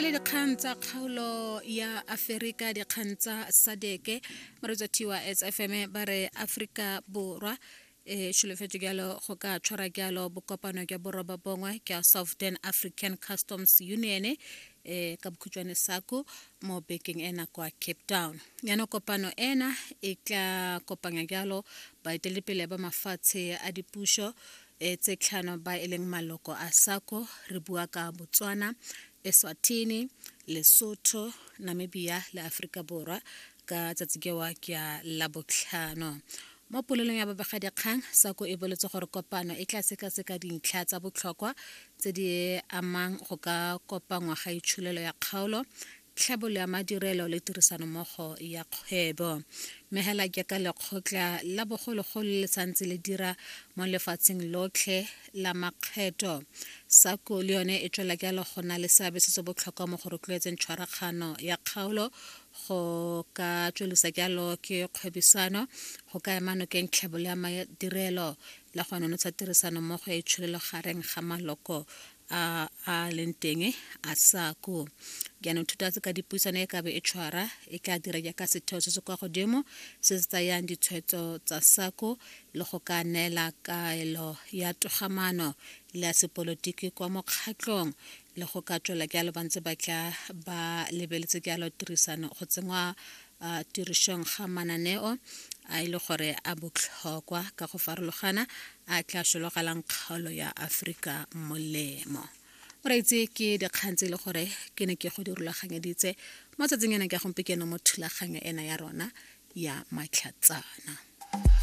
Lebile dikgang tsa kgaolo ya Aferika, dikgang tsa SADC, moreetsi wa SFM ba re Aforika Borwa e solofetse jalo go ka tshwara jalo bokopano jwa boroba bongwe jwa Southern African Customs Union, e ka bokhutshwane SACU, mo bekeng ena kwa Cape Town. Jaanong kopano ena e tla kopanya jalo baeteledipele ba mafatshe a dipuso e tse tlhano ba e leng maloko a SACU. Re bua ka Botswana, Eswatini, Lesotho, Namibia le Aforika Borwa ka tsatsi kewa ke ya Labotlhano. Mo polelong ya babegadikgang, SACU e boletse gore kopano e tla sekaseka dintlha tsa botlhokwa tse di amang go ka kopangwa ga itsholelo ya kgaolo, tlhabololo ya madirelo le tirisanommogo ya kgwebo. Mme hela jaaka lekgotla la bogologolo le santse le dira mo lefatsheng lotlhe la makgetho, SACU le yone e tswela jalo go na le seabe se se botlhokwa mo go rotloetseng tshwaragano ya kgaolo, go ka tswelisa jalo ke kgwebisano, go ka ema nokeng tlhabololo ya madirelo le go nonotsha tirisano mmogo ya itsholelo gareng ga maloko a a leng teng a SACU. Jaanong thuto ka dipuisano e kabe e tshwara e tla dira jaaka setheo se se kwa godimo se se tsayang ditshwetso tsa SACU le go ka neela kaelo ya togamaano le ya sepolotiki kwa mokgatlhong, le go ka tswela jalo ba ntse ba tla ba lebeletse jalo tirisano go tsenngwa tirišong ga mananeo a e le gore a botlhokwa ka go farologana a tla sologelang kgaolo ya Aforika molemo. Moreetsi, ke dikgang tse e le gore ke ne ke go di rulaganyeditse mo tsatsing ena ke gompieno mo thulaganyo ena ya rona ya Matlhatsana.